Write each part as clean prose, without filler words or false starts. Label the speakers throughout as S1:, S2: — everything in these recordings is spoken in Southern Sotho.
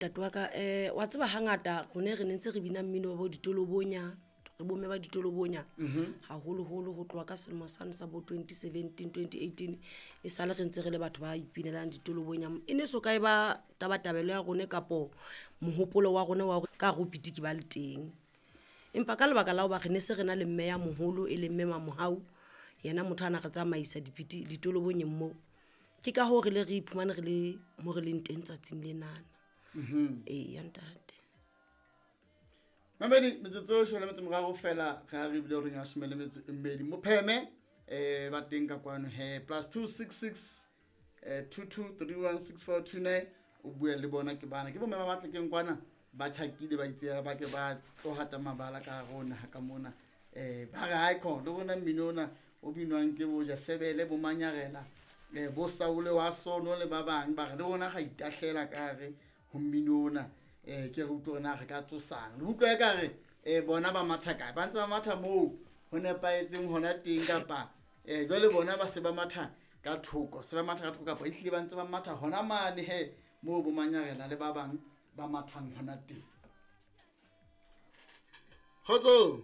S1: Ntate wa ka, wa tseba hangata rone re ne ntse re bina mmino wa bo ditolobonya, re bomme ba ditolobonya haholoholo ho tloha ka selemo sane sa bo 2017 2018, e sale re ntse re le batho ba ipinelang ditolobonya. E ne so ka e ba tabatabelo ya rone kapo mohopolo wa rona wa hore ka hare ho pitiki ba le teng, empa ka lebaka la hoba re ne se re na le mme ya moholo, e leng mme Mamohau, yena motho a na re tsamaisa dipiti ditolobonyeng moo. Ke ka hoo re le re iphumane re le mo re leng teng tsatsing lenana. Ee, ya ntate.
S2: Mamedi, metsotso e shole metso moraro fela re a re bile horeng ya shome le metso e mmedi. Mopheme ba teng ka kwano he, +266 22316429, o bue le bona. Ke bana ke bomme ba batle keng kwana, ba tjhakile, ba itse ba ke ba tlo hata mabala ka hare ho naha ka mona. Ba re hae khona le rona mmino ona o binwang ke bo Jasebele, bo Manyarela, bo Saule wa Sono le ba bang, ba re le rona ga itahlela ka hare ho mmino ona. Ke re utlwe hore na re ka tsosang le utlwa ka re bona ba matha kae, ba ntse ba matha moo ho nepahetseng hona teng, kapa jwale bona ba se ba matha ka thoko, se ba matha ka thoko, kapa ehlile ba ntse ba matha hona mane he moo bo Manyarela le ba bang ba mathang hona teng. Kgotso.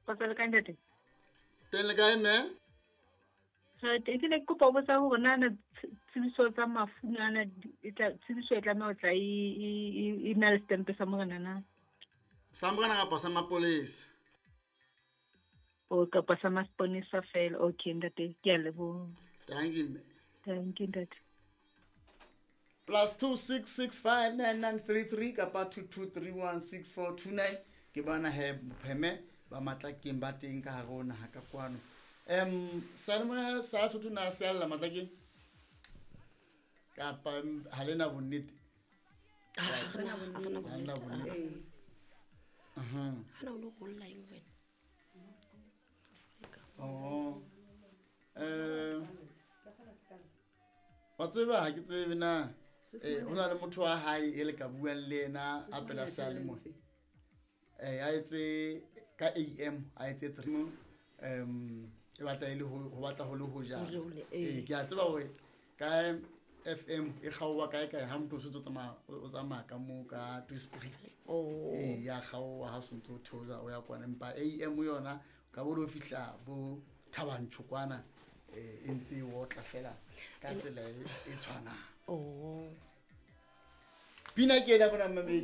S3: Kgotso le kae ntate?
S2: Teng le kae mme?
S3: Re teng. Ke ne ke kopa ho botsa hore na na tsebiso tsa mafu na e tla, tsebiso e tlameha ho tla e na le setempe sa morena na?
S2: Sa morena kapa sa mapolesa?
S3: O kapa sa maponesa fela. Okay ntate, ke a leboha.
S2: Thank you mme.
S3: Thank you ntate.
S2: +26659933 kapa 22316429. Ke bana he bopheme ba Matlakeng ba teng ka hare ho naha ka kwano. Salemoya sa Sotho na se alla Matlakeng kapa ha le na bonnete?
S1: Ha re na
S2: Ha le na
S1: bonnete.
S2: Bonnete.
S1: Ha na o no rolla eng wena?
S2: Oh. Wa tseba ha ke tsebe na. Ho na le motho wa hae e le ka buang le yena a pela seyalemoya. A etse ka AM, a etse 3. E batla e le ho batla ho le ho jana.
S1: Ho le ho le, ee.
S2: Ke a tseba hore ka FM e kgaoha kae kae ha motho o sentse o tsamaya, o tsamaya ka moo ka Tweespruit.
S1: Oh.
S2: Ya kgaoha ha o sentse o theosa o ya kwana, empa AM yona ka bo lo fihla bo Thabanchu kwana, e ntse e otla fela ka tsela e tshwanang.
S1: Oh.
S2: Pina ke ena bona mamedi.